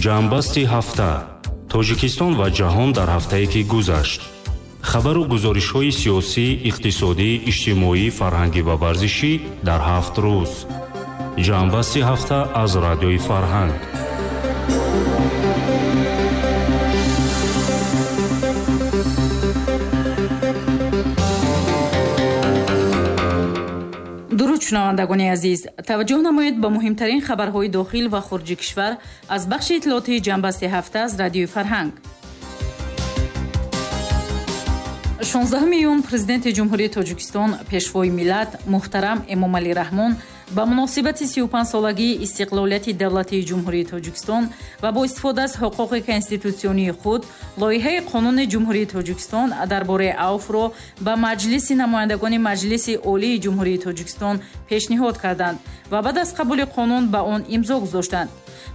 Ҷамъбасти ҳафта. Тоҷикистон ва ҷаҳон дар ҳафтае ки гузашт. Хабару гузоришҳои сиёсӣ, иқтисодӣ, иҷтимоӣ, фарҳангӣ ва варзишӣ дар 7 рӯз. Ҷамъбасти ҳафта аз Радиои Фарҳанг. Дуруд, шунавандагони азиз! Таваҷҷӯҳ намоед ба муҳимтарин хабарҳои дохил ва хориҷи кишвар аз бахши иттилоотии Ҷамъбасти ҳафта аз Радиои Фарҳанг. 16 июн Президенти Ҷумҳурии Тоҷикистон, Пешвои миллат муҳтарам Эмомалӣ Раҳмон ба муносибати 35-солагии истиқлолияти давлатии Ҷумҳурии Тоҷикистон ва бо истифода аз ҳуқуқи конститутсионии худ лоиҳаи Қонуни Ҷумҳурии Тоҷикистон дар бораи авфро ба Маҷлиси намояндагони Маҷлиси Олии Ҷумҳурии Тоҷикистон пешниҳод карданд ва баъд аз қабули қонун ба он имзо гузоштанд.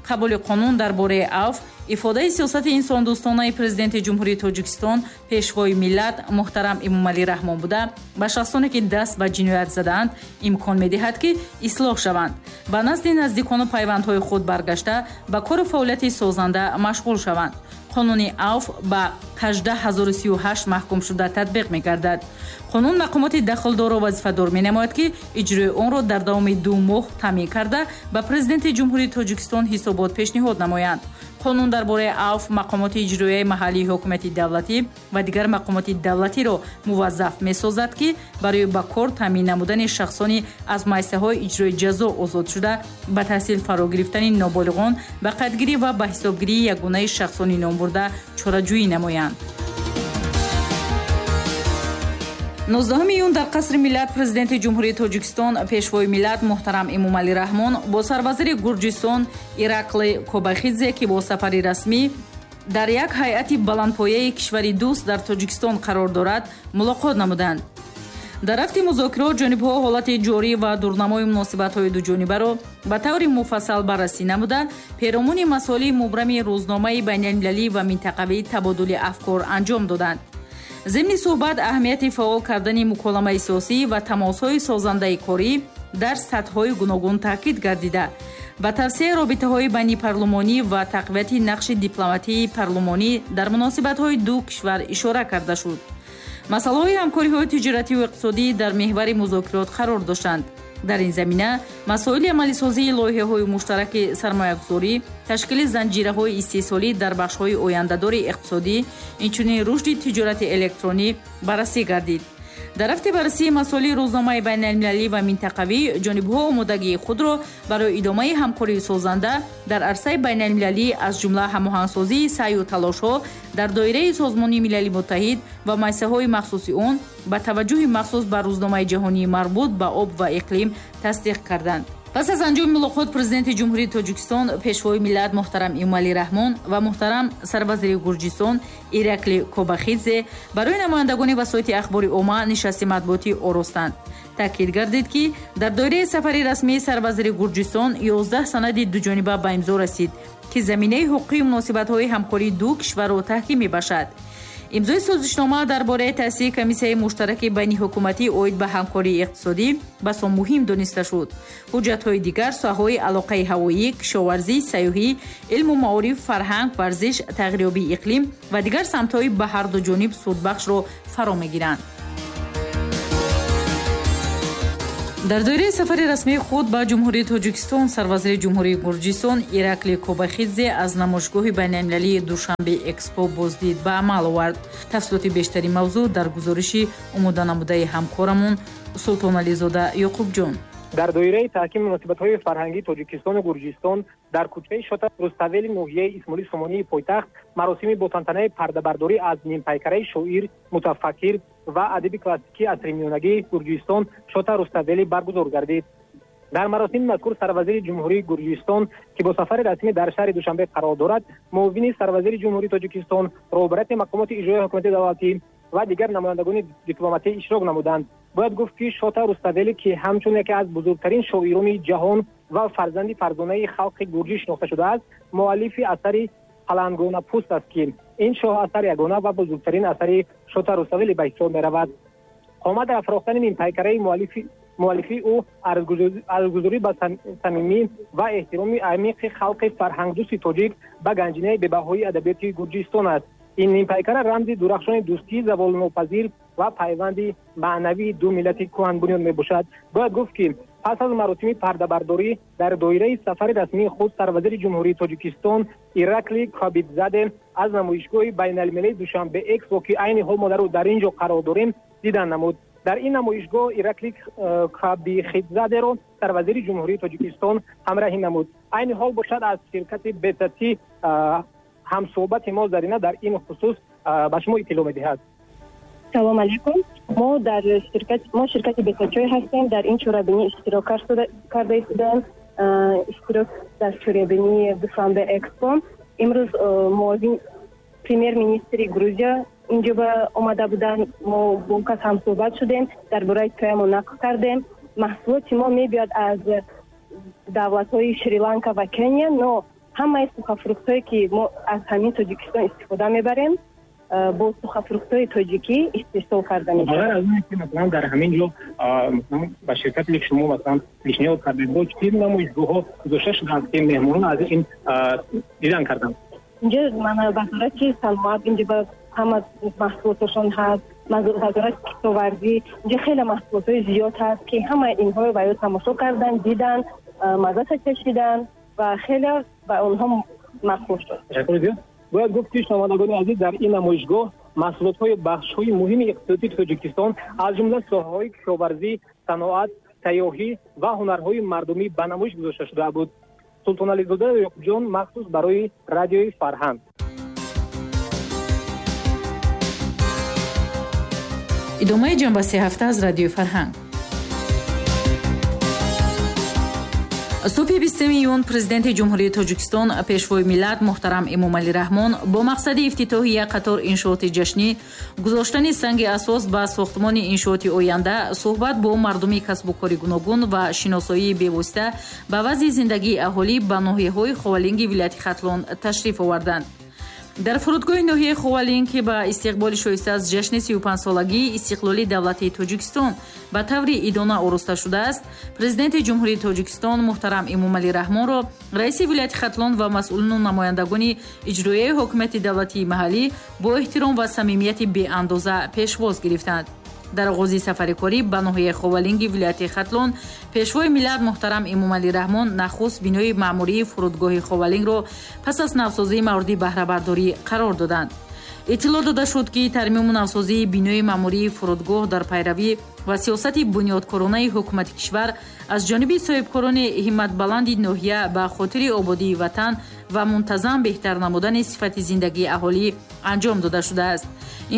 Қабули қонун дар бораи авф ифодаи сиёсати инсондӯстонаи Президенти Ҷумҳурии Тоҷикистон, Пешвои миллат муҳтарам Эмомалӣ Раҳмон буда, ба шахсоне, ки даст ба ҷиноят задаанд, имкон медиҳад, ки ислоҳ шаванд, ба назди наздикону пайвандҳои худ баргашта, ба кору фаъолияти созанда машғул шаванд. Қонуни авф ба 18038 маҳкумшуда татбиқ мегардад. Қонун мақомоти дахлдорро вазифадор менамояд, ки иҷрои онро дар давоми 2 моҳ таъмин карда, ба Президенти Ҷумҳурии Тоҷикистон ҳисобот пешниҳод намоянд. Қонун дар бораи авф мақомоти иҷроияи маҳаллии ҳокимияти давлатӣ ва дигар мақомоти давлатиро муваззаф месозад, ки барои ба кор таъмин намудани шахсони аз муассисаҳои иҷрои ҷазо озодшуда, ба таҳсил фаро гирифтани ноболиғон, ба қайдгирӣ ва ба ҳисобгирии ягонаи шахсони номбурда чораҷӯӣ намоянд. 19 июн дар Қасри миллат Президенти Ҷумҳурии Тоҷикистон, Пешвои миллат муҳтарам Эмомалӣ Раҳмон бо сарвазири Гурҷистон Иракли Кобахидзе, ки бо сафари расмӣ дар як ҳайати баландпояи кишвари дӯст дар Тоҷикистон қарор дорад, мулоқот намуданд. Дар рафти музокирот ҷонибҳо ҳолати ҷорӣ ва дурнамои муносибатҳои дуҷонибаро ба таври муфассал баррасӣ намуда, перомуни масоили мубрами рӯзномаи байналмилалӣ ва минтақавӣ табодули афкор анҷом доданд. Зимни суҳбат аҳамияти фаъол кардани муколамаи сиёсӣ ва тамосҳои созандаи корӣ дар сатҳҳои гуногун таъкид гардида, ба тавсияи робитаҳои байнипарлумонӣ ва тақвияти нақши дипломатии парлумонӣ дар муносибатҳои ду кишвар ишора карда шуд. Масъалаҳои ҳамкориҳои тиҷоративу иқтисодӣ дар меҳвари музокирот қарор доштанд. Дар ин замина масоили амалисозии лоиҳаҳои муштараки сармоягузорӣ, ташкили занҷираҳои истеҳсолӣ дар бахшҳои ояндадори иқтисодӣ, инчунин рушди тиҷорати электронӣ баррасӣ гардид. Дар рафти баррасии масоили рӯзномаи байналмилалӣ ва минтақавӣ ҷонибҳо омодагии худро барои идомаи ҳамкории созанда дар арсаи байналмилалӣ, аз ҷумла ҳамоҳангсозии саъю талошҳо дар доираи Созмони Милали Муттаҳид ва муассисаҳои махсуси он, ба таваҷҷӯҳи махсус ба рӯзномаи ҷаҳонии марбут ба об ва иқлим тасдиқ карданд. Пас аз анҷоми мулоқот Президенти Ҷумҳурии Тоҷикистон, Пешвои миллат муҳтарам Эмомалӣ Раҳмон ва муҳтарам сарвазири Гурҷистон Иракли Кобахидзе барои намояндагони васоити ахбори омма нишасти матбуотӣ оростанд. Таъкид гардид, ки дар доираи сафари расмии сарвазири Гурҷистон 11 санади дуҷониба ба имзо расид, ки заминаи ҳуқуқии муносибатҳои ҳамкории ду кишварро таҳким мебахшад. Имзои созишнома дар бораи таъсиси комиссияи муштараки байниҳукуматӣ оид ба ҳамкории иқтисодӣ басо муҳим дониста шуд. Ҳуҷҷатҳои дигар соҳаҳои алоқаи ҳавоӣ, кишоварзӣ, сайёҳӣ, илму маориф, фарҳанг, варзиш, тағйирёбии иқлим ва дигар самтҳои ба ҳарду ҷониб судбахшро фаро мегиранд. Дар доираи сафари расмии худ ба Ҷумҳурии Тоҷикистон сарвазири Ҷумҳурии Гурҷистон Иракли Кобахидзе аз намоишгоҳи байналмилалии Душанбе Экспо боздид ба амал овард. Тафсилоти бештари мавзӯъ дар гузориши омоданамудаи ҳамкорамон Султонализода Ёқубҷон. Дар доираи таҳкими муносибатҳои фарҳангии Тоҷикистону Гурҷистон дар кӯчаи Шота Руставели ноҳияи Исмоили Сомонии пойтахт маросими бо тантанаи пардабардорӣ аз нимпайкараи шоир, мутафаккир ва адиби классикии асри миёнагии Гурҷистон Шота Руставели баргузор гардид. Дар маросими мазкур сарвазири Ҷумҳурии Гурҷистон, ки бо сафари расмӣ дар шаҳри Душанбе қарор дорад, муовини сарвазири Ҷумҳурии Тоҷикистон, роҳбарияти мақомоти иҷроияи ҳокимияти давлатӣ ва дигар намояндагони дипломатӣ иштирок намуданд. Бояд гуфт, ки Шота Руставели, ки ҳамчун яке аз бузургтарин шоирони ҷаҳон ва фарзанди фарзонаи халқи гурҷӣ шинохта шудааст, муаллифи асари Палангона пӯст аст, ки ин шоҳасар ягона ва бузургтарин асари Шота Руставели ба ҳисоб меравад. Қомат афрохтани нимпайкараи муаллифи Муаллифии ӯ арзгузорӣ ба самимӣ ва эҳтироми амиқи халқи фарҳангдӯсти тоҷик ба ганҷинаи бебаҳои адабиёти Гурҷистон аст. Ин нимпайкара рамзи дурахшони дӯстии заволнопазир ва пайванди маънавии ду миллати кӯҳанбунёд мебошад. Бояд гуфт, ки пас аз маросими пардабардорӣ дар доираи сафари расмии худ сарвазири Ҷумҳурии Тоҷикистон Иракли Кобидзаде аз намоишгоҳи байналмилалии Душанбе Экспо, ки айни ҳол мо дар ин ҷо қарор дорем, дидан намуд. Дар ин намоишгоҳ Иракли Кобихидзадеро сарвазири Ҷумҳурии Тоҷикистон ҳамраҳӣ намуд. Айни ҳол бошад, аз ширкати Бетати ҳамсӯҳбати мо Зарина дар ин хусус ба шумо иттилоъ медиҳад. Салом алейкум. Мо дар ширкат, мо ширкати Бетачой ҳастем. Дар ин чорабинӣ иштирок карда истодаем. Иштирок дар чорабинии Душанбе Экспо. Имрӯз муовин премьер-министри Грузия инҷо ба омада буданд. Мо бо кас ҳамсӯҳбат шудем, дар бораи чоямо нақл кардем. Маҳсулоти мо мебиёд аз давлатҳои Шри-Ланка ва Кения, но ҳамаи сухофруктҳое, ки мо аз ҳамин Тоҷикистон истифода мебарем, бо сухофруктҳои тоҷикӣ истеҳсол карда мешавад. Бағайр аз он ки, масалан, дар ҳамин ҷо, масалан, ба ширкате ки шумо, масалан, пешниҳод кардед, бо чӣ намоишгоҳҳо гузошта шудаанд, ки меҳмонон аз ин дидан карданд? Инҷо мана вазорати саноат, инҷо ба ҳама маҳсулоташон ҳаст, вазорати кишоварзӣ, инҷо хеле маҳсулотҳои зиёд ҳаст, ки ҳамаи инҳоро ба ё тамошо кардан, дидан, маззаша чашидан ва хеле ба онҳо маъқул шуд. Ташаккури зиёд. Бояд гуфт, ки шунавандагони азиз, дар ин намоишгоҳ маҳсулотҳои бахшҳои муҳими иқтисодии Тоҷикистон, аз ҷумла соҳаҳои кишоварзӣ, саноат, сайёҳӣ ва ҳунарҳои мардумӣ ба намоиш гузошта шуда буд. Султонализода Ёқубҷон, махсус барои Радиои Фарҳанг. Идомаи ҷанбаси ҳафта аз Радиои Фарҳанг. Субҳи 20 июн Президенти Ҷумҳурии Тоҷикистон, Пешвои миллат муҳтарам Эмомалӣ Раҳмон бо мақсади ифтитоҳи як қатор иншооти ҷашнӣ, гузоштани санги асос ба сохтмони иншооти оянда, суҳбат бо мардуми касбу кори гуногун ва шиносоии бевосита ба вазъи зиндагии аҳолӣ ба ноҳияҳои Ховалинги вилояти Хатлон ташриф оварданд. Дар фурудгоҳи ноҳияи Ховалинг, ки ба истиқболи шоиста аз ҷашни 35-солагии истиқлоли давлатии Тоҷикистон ба таври идона ороста шудааст, Президенти Ҷумҳурии Тоҷикистон муҳтарам Эмомалӣ Раҳмонро раиси вилояти Хатлон ва масъулину намояндагони иҷроияи ҳокимияти давлатии маҳаллӣ бо эҳтиром ва самимияти беандоза пешвоз гирифтанд. Дар оғози сафари корӣ ба ноҳияи Ховалинги вилояти Хатлон Пешвои миллат муҳтарам Эмомалӣ Раҳмон нахуст бинои маъмурии фурудгоҳи Ховалингро пас аз навсозии мавриди баҳрабардорӣ қарор доданд. Иттилоъ дода шуд, ки тармиму навсозии бинои маъмурии фурудгоҳ дар пайравӣ ва сиёсати бунёдкоронаи ҳукумати кишвар аз ҷониби соҳибкорони ҳимматбаланди ноҳия ба хотири ободии ватан ва мунтазам беҳтар намудани сифати зиндагии аҳолӣ анҷом дода шудааст.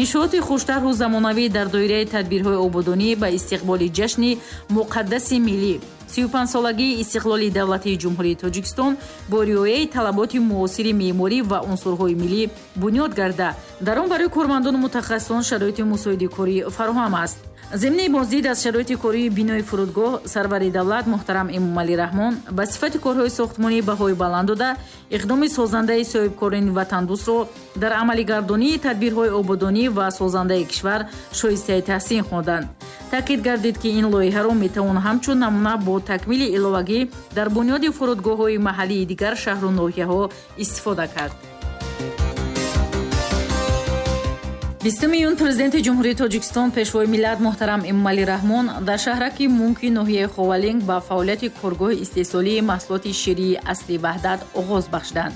Иншооти хуштарҳу замонавӣ дар доираи тадбирҳои ободонӣ ба истиқболи ҷашни муқаддаси миллӣ, 35-солагии истиқлоли давлатии Ҷумҳурии Тоҷикистон, бо риояи талаботи муосири меъморӣ ва унсурҳои миллӣ бунёд гарда, дар он барои кормандону мутахассисон шароити мусоиди корӣ фароҳам аст. Зимни боздид аз шароити кории бинои фурудгоҳ сарвари давлат муҳтарам Эмомалӣ Раҳмон ба сифати корҳои сохтмонӣ баҳои баланд дода, иқдоми созандаи соҳибкорони ватандӯстро дар амалигардонии тадбирҳои ободонӣ ва созандаи кишвар шоистаи таҳсин хонданд. Таъкид гардид, ки ин лоиҳаро метавон ҳамчун намуна бо такмили иловагӣ дар бунёди фурудгоҳҳои маҳаллии дигар шаҳру ноҳияҳо истифода кард. 20 июн Президенти Ҷумҳурии Тоҷикистон, Пешвои миллат муҳтарам Эмомалӣ Раҳмон дар шаҳраки Мунки ноҳияи Ховалинг ба фаъолияти коргоҳи истеҳсолии маҳсулоти ширии Асри Ваҳдат оғоз бахшиданд.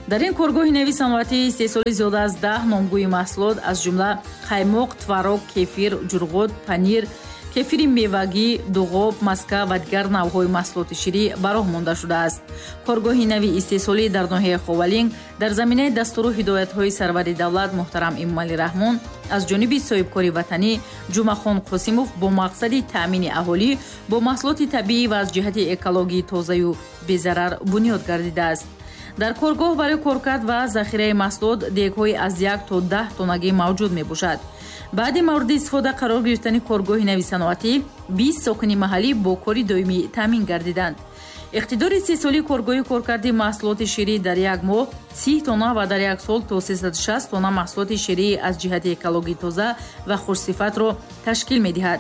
Дар ин коргоҳи нави саноатии истеҳсоли зиёда аз 10 номгӯи маҳсулот, аз ҷумла қаймоқ, творог, кефир, ҷурғот, панир, кефири мевагӣ, дуғоб, маска ва дигар навъҳои маҳсулоти ширӣ ба роҳ монда шудааст. Коргоҳи нави истеҳсолӣ дар ноҳияи Ховалинг дар заминаи дастуру ҳидоятҳои сарвари давлат муҳтарам Эмомалӣ Раҳмон аз ҷониби соҳибкори ватанӣ Ҷумъахон Қосимов бо мақсади таъмини аҳолӣ бо маҳсулоти табиӣ ва аз ҷиҳати экологии тозаю безарар бунёд гардидааст. Дар коргоҳ барои коркард ва захираи маҳсулот дегҳои аз 1 то 10 тоннагӣ мавҷуд мебошад. Баъди мавриди истифода қарор гирифтани коргоҳи нави саноатӣ, 20 сокини маҳаллӣ бо кори доимӣ таъмин гардиданд. Иқтидори истеҳсолии коргоҳи коркарди маҳсулоти ширӣ дар як моҳ 30 тонна ва дар як сол то 360 тонна маҳсулоти ширии аз ҷиҳати экологии тоза ва хушсифатро ташкил медиҳад.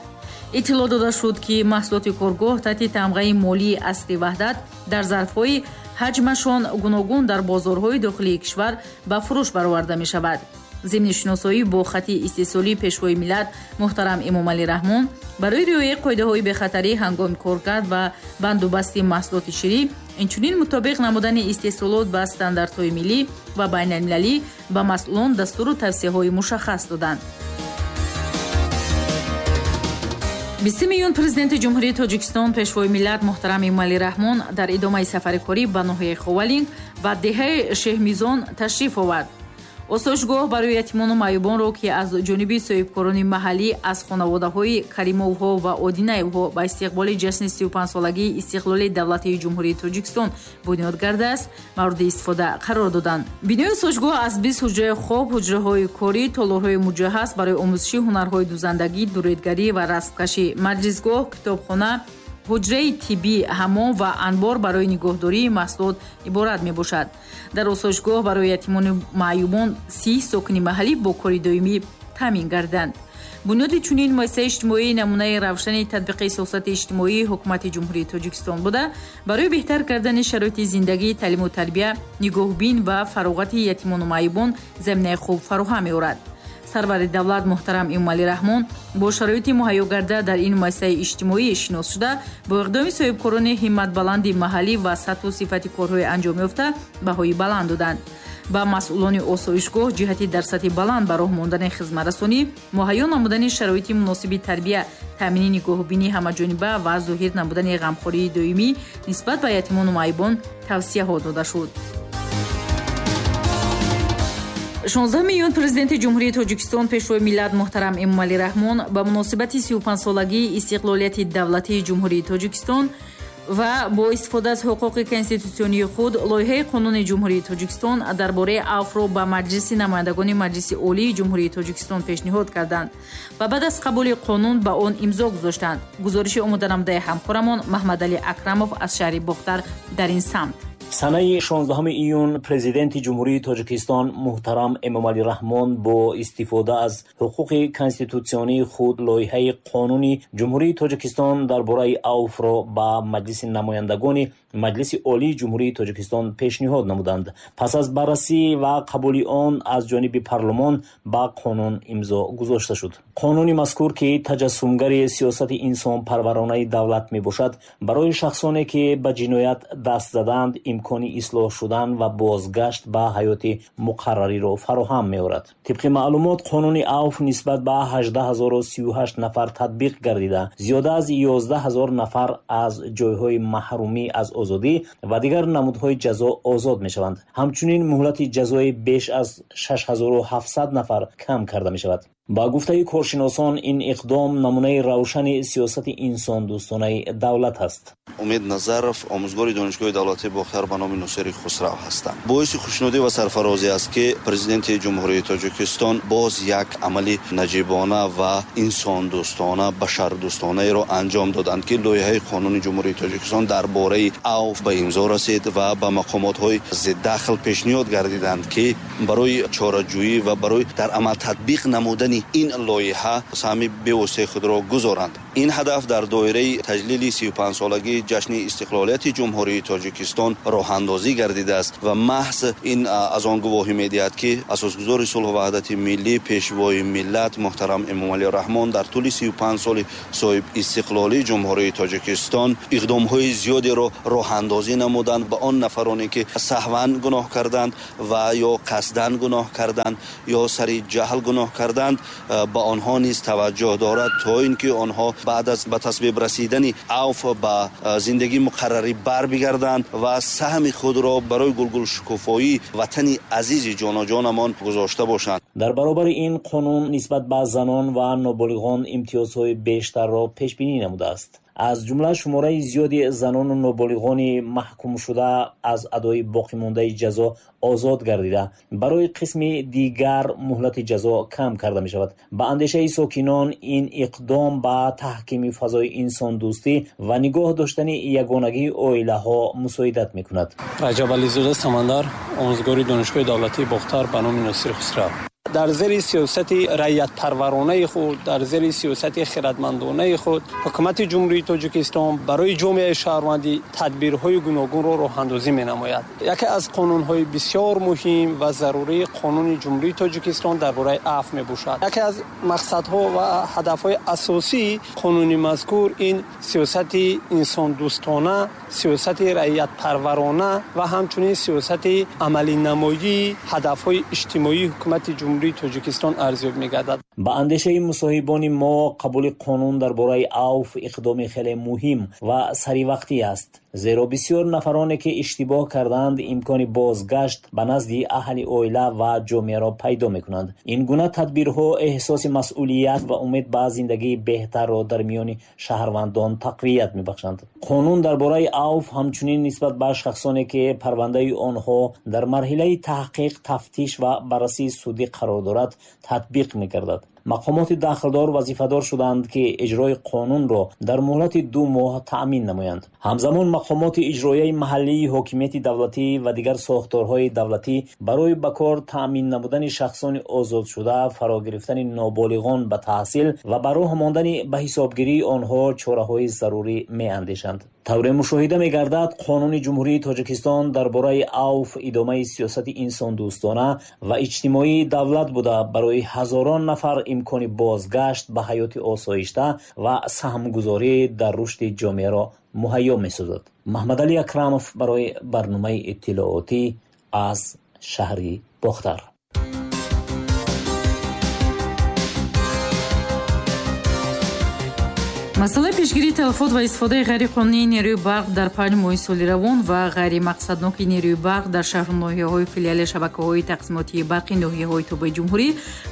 Иттилоъ дода шуд, ки маҳсулоти коргоҳ таҳти тамғаи молии Асри ваҳдат дар зарфҳои ҳаҷмашон гуногун дар бозорҳои дохилии кишвар ба фурӯш бароварда мешавад. Зимни шиносоӣ бо хати истеҳсолии Пешвои миллат муҳтарам Эмомалӣ Раҳмон барои риояи қоидаҳои бехатарӣ ҳангоми коркард ва бандубасти маҳсулоти ширӣ, инчунин мутобиқ намудани истеҳсолот ба стандартҳои миллӣ ва байналмилалӣ ба масъулон дастуру тавсияҳои мушаххас доданд. 20 июн Президенти Ҷумҳурии Тоҷикистон, Пешвои миллат муҳтарам Эмомалӣ Раҳмон дар идомаи сафари корӣ ба ноҳияи Ховалинг ва деҳаи Шеҳмизон ташриф овард. Осоишгоҳ барои ятимону маъюбонро, ки аз ҷониби соҳибкорони маҳаллӣ аз хонаводаҳои Каримовҳо ва Одинаевҳо ба истиқболи ҷашни 35-солагии истиқлоли давлатии Ҷумҳурии Тоҷикистон бунёд гардааст, мавриди истифода қарор доданд. Бинои осоишгоҳ аз 20 ҳуҷраи хоб, ҳуҷраҳои корӣ, толорҳои муҷаҳҳаз барои омӯзиши ҳунарҳои дузандагӣ, дуредгарӣ ва расмкашӣ, маҷлисгоҳ, китобхона, ҳуҷраи тиббӣ, ҳаммом ва анбор барои нигоҳдории маҳсулот иборат мебошад. Дар осоишгоҳ барои ятимону маъюбон 30 сокини маҳаллӣ бо кори доимӣ таъмин гарданд. Бунёди чунин муассисаи иҷтимоӣ намунаи равшани татбиқи сиёсати иҷтимоии Ҳукумати Ҷумҳурии Тоҷикистон буда, барои беҳтар кардани шароити зиндагӣ, таълиму тарбия, нигоҳбин ва фароғати ятимону маъюбон заминаи хуб фароҳам меорад. Сарвари давлат муҳтарам Эмомалӣ Раҳмон бо шароити муҳайё гарда дар ин муассисаи иҷтимоӣ шинос шуда, бо иқдоми соҳибкорони ҳимматбаланди маҳаллӣ ва сатҳу сифати корҳои анҷомёфта баҳои баланд доданд. Ба масъулони осоишгоҳ ҷиҳати дар сатҳи баланд ба роҳ мондани хизматрасонӣ, муҳайё намудани шароити муносиби тарбия, таъмини нигоҳубини ҳамаҷониба ва зоҳир намудани ғамхории доимӣ нисбат ба ятимону маъюбон тавсияҳо дода шуд. 16 июн Президенти Ҷумҳурии Тоҷикистон, Пешвои миллат муҳтарам Эмомалӣ Раҳмон ба муносибати 35-солагии истиқлолияти давлатии Ҷумҳурии Тоҷикистон ва бо истифода аз ҳуқуқи конститутсионии худ лоиҳаи қонуни Ҷумҳурии Тоҷикистон дар бораи авфро ба Маҷлиси намояндагони Маҷлиси Олии Ҷумҳурии Тоҷикистон пешниҳод карданд ва баъд аз қабули қонун ба он имзо гузоштанд. Гузориши омоданамудаи ҳамкорамон Маҳмадалӣ Акрамов аз шаҳри Бохтар дар ин самт. Санаи 16 июн Президенти Ҷумҳурии Тоҷикистон муҳтарам Эмомалӣ Раҳмон бо истифода аз ҳуқуқи конститутсионии худ лоиҳаи қонуни Ҷумҳурии Тоҷикистон дар бораи авфро ба Маҷлиси намояндагони Маҷлиси Олии Ҷумҳурии Тоҷикистон пешниҳод намуданд. Пас аз баррасӣ ва қабули он аз ҷониби парлумон ба қонун имзо гузошта шуд. Қонуни мазкур, ки таҷассумгари сиёсати инсонпарваронаи давлат мебошад, барои шахсоне ки ба ҷиноят даст задаанд имкони ислоҳ шудан ва бозгашт ба ҳаёти муқаррариро фароҳам меорад. Тибқи маълумот, қонуни авф нисбат ба 18038 нафар татбиқ гардида, зиёда аз 11 000 нафар аз ҷойҳои маҳрумӣ аз озодӣ ва дигар намудҳои ҷазо озод мешаванд. Ҳамчунин муҳлати ҷазои беш аз 6700 нафар кам карда мешавад. Ба гуфтаи коршиносон, ин иқдом намунаи равшани сиёсати инсондӯстонаи давлат аст. Умед Назаров, омӯзгори Донишгоҳи давлатии Бохтар ба номи Носири Хусрав ҳастам. Боиси хушнудӣ ва сарфарозӣ аст, ки Президенти Ҷумҳурии Тоҷикистон боз як амали наҷибона ва инсондӯстона, башардӯстонаеро анҷом доданд, ки лоиҳаи қонуни Ҷумҳурии Тоҷикистон дар бораи авф ба имзо расид ва ба мақомотҳои зиддахл пешниҳод гардиданд, ки барои чораҷӯӣ ва барои дар амал татбиқ намудани ин лоиҳа саҳми бевоситаи худро гузоранд. Ин ҳадаф дар доираи таҷлили 35-солагии ҷашни истиқлолияти Ҷумҳурии Тоҷикистон роҳандозӣ гардидааст ва маҳз ин аз он гувоҳӣ медиҳад, ки асосгузори сулҳу ваҳдати миллӣ, Пешвои миллат муҳтарам Эмомалӣ Раҳмон дар тӯли 35 соли соҳиб истиқлолии Ҷумҳурии Тоҷикистон иқдомҳои зиёдеро роҳандозӣ намуданд. Ба он нафароне, ки саҳван гуноҳ карданд ва ё қасдан гуноҳ карданд, ё сари ҷаҳл гуноҳ карданд, ба онҳо низ таваҷҷӯҳ дорад, то ин ки онҳо баъд аз ба тасвиб расидани авф ба зиндагии муқаррарӣ барбигарданд ва саҳми худро барои гулгулшукуфоии ватани азизи ҷоноҷонамон гузошта бошанд. Дар баробари ин қонун нисбат ба занон ва ноболиғон имтиёзҳои бештарро пешбинӣ намудааст. Аз ҷумла шумораи зиёди занону ноболиғони маҳкумшуда аз адои боқимондаи ҷазо озод гардида, барои қисми дигар муҳлати ҷазо кам карда мешавад. Ба андешаи сокинон, ин иқдом ба таҳкими фазои инсондӯстӣ ва нигоҳ доштани ягонагии оилаҳо мусоидат мекунад. Раҷабализода Самандар, омӯзгори Донишгоҳи давлатии Бохтар ба номи Носири Хусрав. Дар зери сиёсати раиятпарваронаи худ, дар зери сиёсати хирадмандонаи худ ҳукумати Ҷумҳурии Тоҷикистон барои ҷомеаи шаҳрвандӣ тадбирҳои гуногунро роҳандозӣ менамояд. Яке аз қонунҳои бисёр муҳим ва зарурии қонуни Ҷумҳурии Тоҷикистон дар бораи афв мебошад. Яке аз мақсадҳо ва ҳадафҳои асосии қонуни мазкур ин сиёсати инсондӯстона, сиёсати раиятпарварона ва ҳамчунин сиёсати амалинамоии ҳадафҳои иҷтимоии ҳукумати Ҷумҳурии Тоҷикистон арзёб мегардад. Ба андешаи мусоҳибони мо қабули қонун дар бораи авф иқдоми хеле муҳим ва саривақтӣ аст, зеро бисёр нафароне ки иштибоҳ кардаанд имкони бозгашт ба назди аҳли оила ва ҷомеаро пайдо мекунанд. Ин гуна тадбирҳо эҳсоси масъулият ва умед ба зиндагии беҳтарро дар миёни шаҳрвандон тақвият мебахшанд. Қонун дар бораи авф ҳамчунин нисбат ба шахсоне ки парвандаи онҳо дар марҳилаи таҳқиқ, тафтиш ва баррасии судӣ қарор дорад, татбиқ мегардад. Мақомоти дахлдор вазифадор шуданд, ки иҷрои қонунро дар муҳлати 2 моҳ таъмин намоянд. Ҳамзамон мақомоти иҷроияи маҳаллии ҳокимияти давлатӣ ва дигар сохторҳои давлатӣ барои ба кор таъмин намудани шахсони озодшуда, фаро гирифтани ноболиғон ба таҳсил ва ба роҳ мондани ба ҳисобгирии онҳо чораҳои зарурӣ меандешанд. Тавре мушоҳида мегардад, қонуни Ҷумҳурии Тоҷикистон дар бораи авф идомаи сиёсати инсондӯстона ва иҷтимоии давлат буда, барои ҳазорон нафар имкони бозгашт ба ҳаёти осоишта ва саҳмгузорӣ дар рушди ҷомеаро муҳайё месозад. Маҳмадалӣ Акрамов барои барномаи иттилоотӣ аз шаҳри Бохтар. Масъалаи пешгирии талафот ва истифодаи ғайриқонунии нерӯи барқ дар 5 моҳи соли равон ва ғайримақсадноки нерӯи барқ дар шаҳру ноҳияҳои филиали шабакаҳои тақсимотии барқи ноҳияҳои тобеи ҷумҳурӣ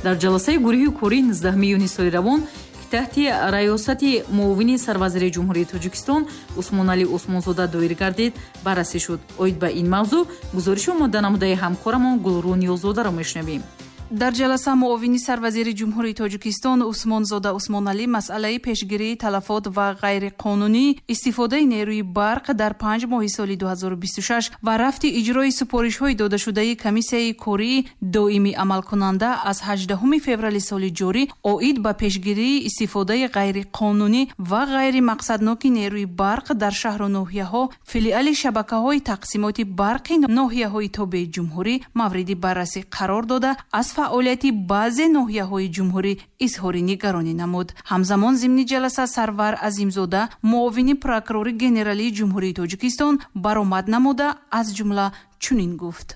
дар ҷаласаи гурӯҳи кории 19 июни соли равон, ки таҳти раёсати муовини сарвазири Ҷумҳурии Тоҷикистон Усмоналӣ Усмонзода доир гардид, баррасӣ шуд. Оид ба ин мавзӯъ гузориши омода намудаи ҳамкорамон Гулрӯ Ниёзодаро мешунавем. Дар ҷаласа муовини сарвазири Ҷумҳурии Тоҷикистон Усмонзода Усмоналӣ масъалаи пешгирии талафот ва ғайриқонунӣ истифодаи нерӯи барқ дар 5 моҳи соли 2026 ва рафти иҷрои супоришҳои додашудаи комиссияи кории доимӣ амалкунанда аз 18 феврали соли ҷорӣ оид ба пешгирии истифодаи ғайриқонунӣ ва ғайримақсадноки нерӯи барқ дар шаҳру ноҳияҳо филиали шабакаҳои тақсимоти барқи ноҳияҳои тобеи ҷумҳурӣ мавриди баррасӣ қарор дода, аз фаъолияти баъзе ноҳияҳои ҷумҳурӣ изҳори нигаронӣ намуд. Ҳамзамон зимни ҷаласа Сарвар Азимзода, муовини прокурори генералии Ҷумҳурии Тоҷикистон, баромад намуда, аз ҷумла чунин гуфт: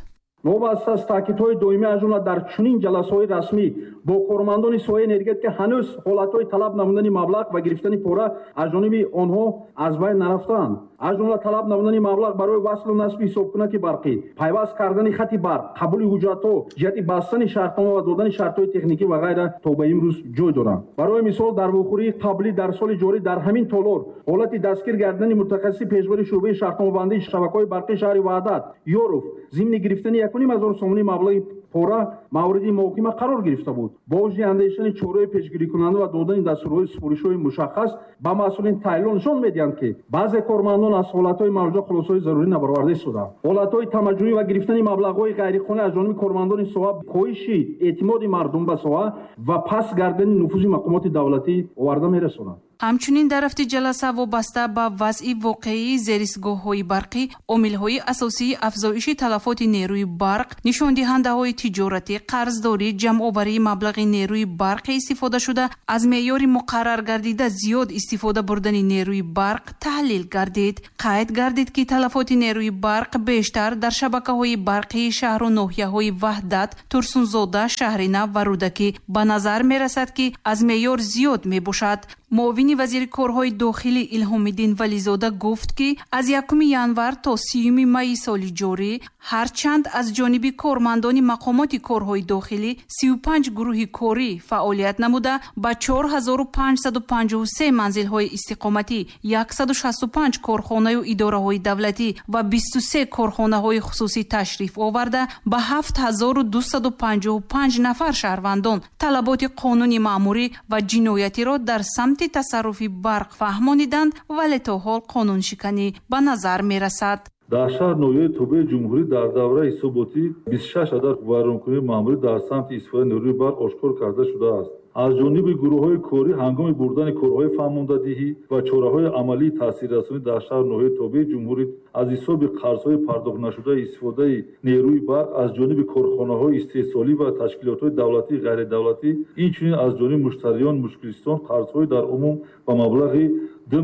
Новобаста аз таъкидҳои доимӣ, аз ҷумла дар чунин ҷаласаҳои расмӣ бо кормандони соҳаи энергетика, ҳанӯз ҳолатҳои талаб намудани маблағ ва гирифтани пора аз ҷониби онҳо аз байн нарафтаанд. Аз ҷумла талаб намудани маблағ барои васлу насби ҳисобкунаки барқӣ, пайваст кардани хати барқ, қабули ҳуҷҷатҳо ҷиҳати бастани шартнома ва додани шартҳои техникӣ ва ғайра то ба имрӯз ҷой доранд. Барои мисол, дар вохӯрии қаблӣ дар соли ҷорӣ дар ҳамин толор ҳолати дастгир гардидани мутахассиси пешбари шӯъбаи шартномабандии шабакаҳои барқии шаҳри Ваҳдат Ёров зимни гирифтани 1,5 ҳазор сомонӣ маблағи пора мавриди муҳокима қарор гирифта буд. Бо вуҷуди андешидани чораҳои пешгирикунанда ва додани дастурҳои супоришҳои мушаххас ба масъулин таҳлилҳо нишон медиҳанд, ки баъзе кормандон аз ҳолатҳои мавҷуда хулосаҳои зарурӣ набароварда истодаанд. Ҳолатҳои тамаҷӯӣ ва гирифтани маблағҳои ғайриқонунӣ аз ҷониби кормандони соҳа коҳиши эътимоди мардум ба соҳа ва паст гардани нуфузи мақомоти давлатӣ оварда мерасонанд. Ҳамчунин дар рафти ҷаласа вобаста ба вазъи воқеии зерисгоҳҳои барқӣ, омилҳои асосии афзоиши талафоти нерӯи барқ, нишондиҳандаҳои тиҷоратӣ, қарздорӣ, ҷамъоварии маблағи нерӯи барқи истифодашуда аз меъёри муқаррар гардида зиёд истифода бурдани нерӯи барқ таҳлил гардид. Қайд гардид, ки талафоти нерӯи барқ бештар дар шабакаҳои барқии шаҳру ноҳияҳои Ваҳдат, Турсунзода, Шаҳринав ва Рӯдакӣ ба назар мерасад, ки аз меъёр зиёд мебошад. Муовини вазири корҳои дохилӣ Илҳомиддин Вализода гуфт, ки аз 1 январ то 30 майи соли ҷорӣ ҳарчанд аз ҷониби кормандони мақомоти корҳои дохилӣ 35 гурӯҳи корӣ фаъолият намуда, ба 4553 манзилҳои истиқоматӣ, 165 корхонаю идораҳои давлатӣ ва 23 корхонаҳои хусусӣ ташриф оварда, ба 7255 нафар шаҳрвандон талаботи қонуни маъмурӣ ва ҷиноятиро дар самти тасарруфи барқ фаҳмониданд, вале то ҳол қонуншиканӣ ба назар мерасад. Дар шаҳр ноҳияи тобеи ҷумҳурӣ дар давраи ҳисоботӣ 26 адад вайронкунии маъмурӣ дар самти истифодаи нерӯи барқ ошкор карда шудааст. Аз ҷониби гурӯҳҳои корӣ ҳангоми бурдани корҳои фаҳмондадиҳӣ ва чораҳои амалии таъсиррасонӣ дар шаҳр ноҳияи тобеи ҷумҳурӣ аз ҳисоби қарзҳои пардохтнашудаи истифодаи нерӯи барқ аз ҷониби корхонаҳои истеҳсолӣ ва ташкилотҳои давлатии ғайридавлатӣ, инчунин аз ҷониби муштариён мушкилистон қарзҳои дар умум ба маблағи 2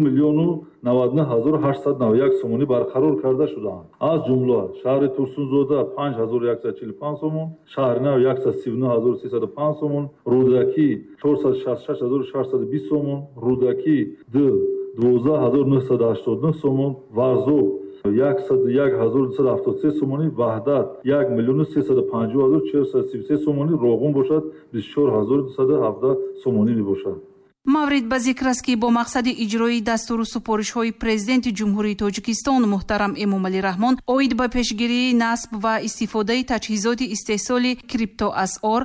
099 891 сомонӣ барқарор карда шудаанд. Аз ҷумла шаҳри Турсунзода 5145 сомон, шаҳри Нав 139 305 сомон, Рӯдакӣ 466 620 сомон, Рӯдакӣ 2 12 989 сомон, Варзоб 101 273 сомонӣ, Ваҳдат 1 350 433 сомонӣ, Роғун бошад 24 217 сомонӣ мебошад. Маврид ба зикр аст, ки бо мақсади иҷрои дастуру супоришҳои Президенти Ҷумҳурии Тоҷикистон муҳтарам Эмомалӣ Раҳмон оид ба пешгирии насб ва истифодаи таҷҳизоти истеҳсоли криптоасъор,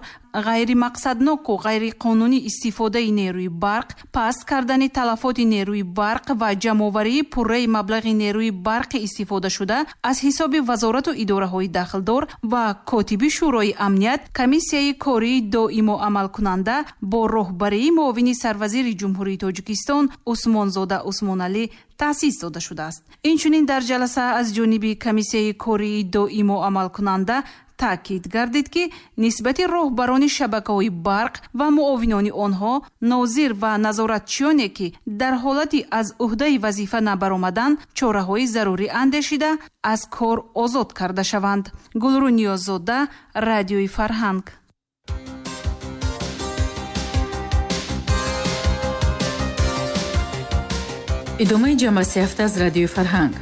ғайримақсадноку ғайриқонунӣ истифодаи нерӯи барқ, паст кардани талафоти нерӯи барқ ва ҷамъоварии пурраи маблағи нерӯи барқи истифодашуда аз ҳисоби вазорату идораҳои дахлдор ва котиби Шӯрои амният, комиссияи кории доимо амалкунанда бо роҳбарии муовини сарвазири Ҷумҳурии Тоҷикистон Усмонзода Усмоналӣ таъсис дода шудааст. Инчунин дар ҷаласа аз ҷониби комиссияи кории доимо амалкунанда таъкид гардид, ки нисбати роҳбарони шабакаҳои барқ ва муовинони онҳо, нозир ва назоратчиёне, ки дар ҳолати аз ӯҳдаи вазифа набаромадан, чораҳои зарурӣ андешида аз кор озод карда шаванд. Гулрӯ Ниёззода, Радиои Фарҳанг. Идомаи ҷамъбасти ҳафта аз Радиои Фарҳанг.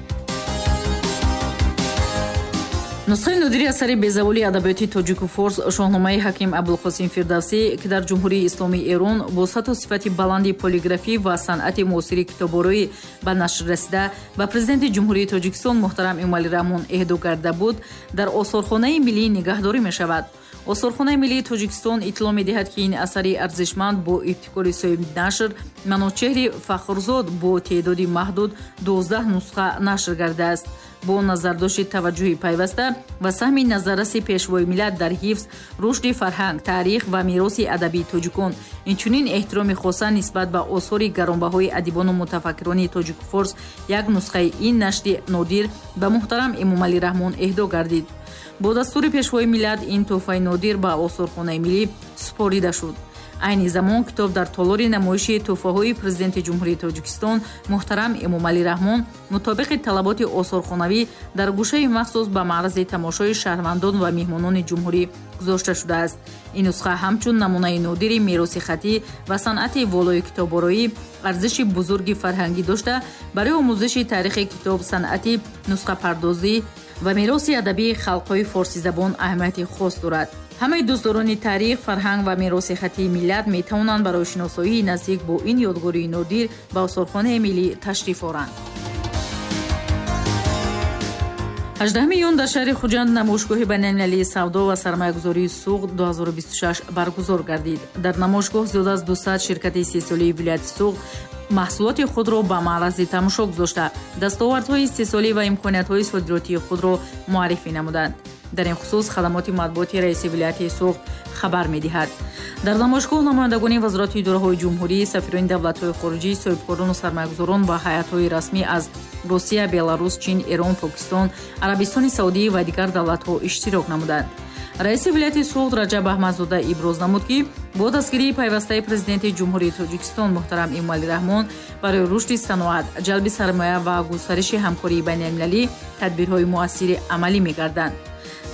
Нусхаи нодири асари безаволи адабиёти тоҷику форс Шоҳномаи ҳаким Абулқосим Фирдавсӣ, ки дар Ҷумҳурии Исломии Эрон бо сатҳу сифати баланди полиграфӣ ва санъати муосири китобороӣ ба нашр расида, ба Президенти Ҷумҳурии Тоҷикистон муҳтарам Эмомалӣ Раҳмон эҳдо карда буд, дар Осорхонаи миллӣ нигаҳдорӣ мешавад. Осорхонаи миллии Тоҷикистон иттилоъ медиҳад, ки ин асари арзишманд бо ибтикори соҳиби нашр Маночеҳри Фахрзод бо теъдоди маҳдуд 12 нусха нашр гардааст. Бо назардошти таваҷҷӯҳи пайваста ва саҳми назарраси Пешвои миллат дар ҳифз, рушди фарҳанг, таърих ва мероси адабии тоҷикон, инчунин эҳтироми хоса нисбат ба осори гаронбаҳои адибону мутафаккирони тоҷику форс, як нусхаи ин нашри нодир ба муҳтарам Эмомалӣ Раҳмон эҳдо гардид. Бо дастури Пешвои миллат ин тӯҳфаи нодир ба Осорхонаи миллӣ супорида шуд. Айни замон китоб дар толори намоиши тӯҳфаҳои Президенти Ҷумҳурии Тоҷикистон муҳтарам Эмомалӣ Раҳмон мутобиқи талаботи осорхонавӣ дар гӯшаи махсус ба маързи тамошои шаҳрвандон ва меҳмонони ҷумҳурӣ гузошта шудааст. Ин нусха ҳамчун намунаи нодири мероси хаттӣ ва санъати волои китобороӣ арзиши бузурги фарҳангӣ дошта, барои омӯзиши таърихи китоб, санъати нусхапардозӣ ва мероси адабии халқҳои форсизабон аҳамияти хос дорад. Ҳамаи дӯстдорони таърих, фарҳанг ва мероси хаттии миллат метавонанд барои шиносоии наздик бо ин ёдгории нодир ба Осорхонаи миллӣ ташриф оранд. 18 июн дар шаҳри Хуҷанд намоишгоҳи байналмилалии савдо ва сармоягузории Суғд 2026 баргузор гардид. Дар намоишгоҳ зиёда аз 200 ширкати истеҳсолии вилояти Суғд маҳсулоти худро ба маързи тамошо гузошта, дастовардҳои истеҳсолӣ ва имкониятҳои содиротии худро муаррифӣ намуданд. Дар ин хусус хадамоти матбуоти раиси вилояти Суғд хабар медиҳад. Дар намоишгоҳ намояндагони вазорату идораҳои ҷумҳурӣ, сафирони давлатҳои хориҷӣ, соҳибкорону сармоягузорон ва ҳайатҳои расмӣ аз Русия, Беларус, Чин, Эрон, Покистон, Арабистони Саудӣ ва дигар давлатҳо иштирок намуданд. Раиси вилояти Суғд Раҷаб Аҳмадзода иброз намуд, ки бо дастгирии пайвастаи Президенти Ҷумҳурии Тоҷикистон муҳтарам Эмомалӣ Раҳмон барои рушди саноат, ҷалби сармоя ва густариши ҳамкории байналмилалӣ тадбирҳои муассири амалӣ мегарданд.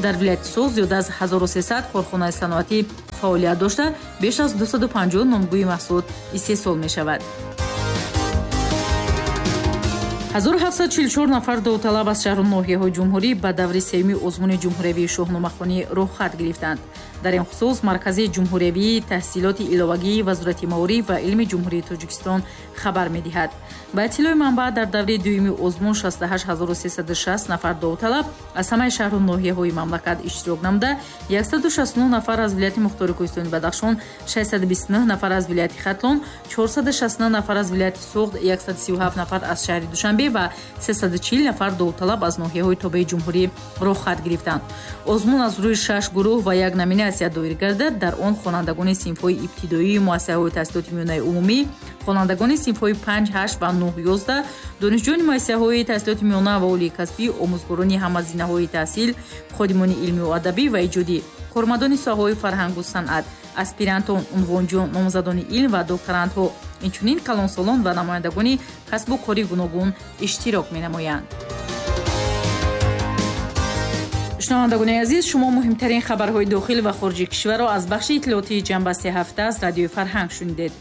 Дар вилояти Суғд зиёда аз 1300 корхонаи саноатӣ фаъолият дошта, беш аз 250 номгӯи маҳсулот истеҳсол мешавад. 1744 нафар довталаб аз шаҳру ноҳияҳои ҷумҳурӣ ба даври сеюми озмуни ҷумҳуриявии шоҳномахонӣ роҳхат гирифтанд. Дар ин хусус Маркази ҷумҳуриявии таҳсилоти иловагии Вазорати маориф ва илми Ҷумҳурии Тоҷикистон хабар медиҳад. Ба иттилои манбаъ, дар даври дуюми озмун 68360 нафар довталаб аз ҳамаи шаҳру ноҳияҳои мамлакат иштирок намуда, 169 нафар аз вилояти Мухтори Кӯҳистони Бадахшон, 629 нафар аз вилояти Хатлон, 469 нафар аз вилояти Суғд, 137 нафар аз шаҳри Душанбе Душанбе ва 340 нафар довталаб аз ноҳияҳои тобеи ҷумҳурӣ роҳхат гирифтанд. Озмун аз рӯи шаш гурӯҳ ва як номинатсия доир гардад. Дар он хонандагони синфҳои ибтидоии муассисаҳои таҳсилоти миёнаи умумӣ, хонандагони синфҳои 5, 8 ва 9, 11, донишҷӯёни муассисаҳои таҳсилоти миёна ва олии касбӣ, омӯзгорони ҳама зинаҳои таҳсил, ходимони илмию адабӣ ва иҷодӣ, кормандони соҳаҳои фарҳангу санъат, аспирантон, унвонҷӯён, номзадони илм ва докторантҳо, инчунин калонсолон ва намояндагони касбу кори гуногун иштирок менамоянд. Шунавандагони азиз, шумо муҳимтарин хабарҳои дохил ва хориҷи кишварро аз бахши иттилоотии ҷамъбасти ҳафта аз Радиои Фарҳанг шунидед.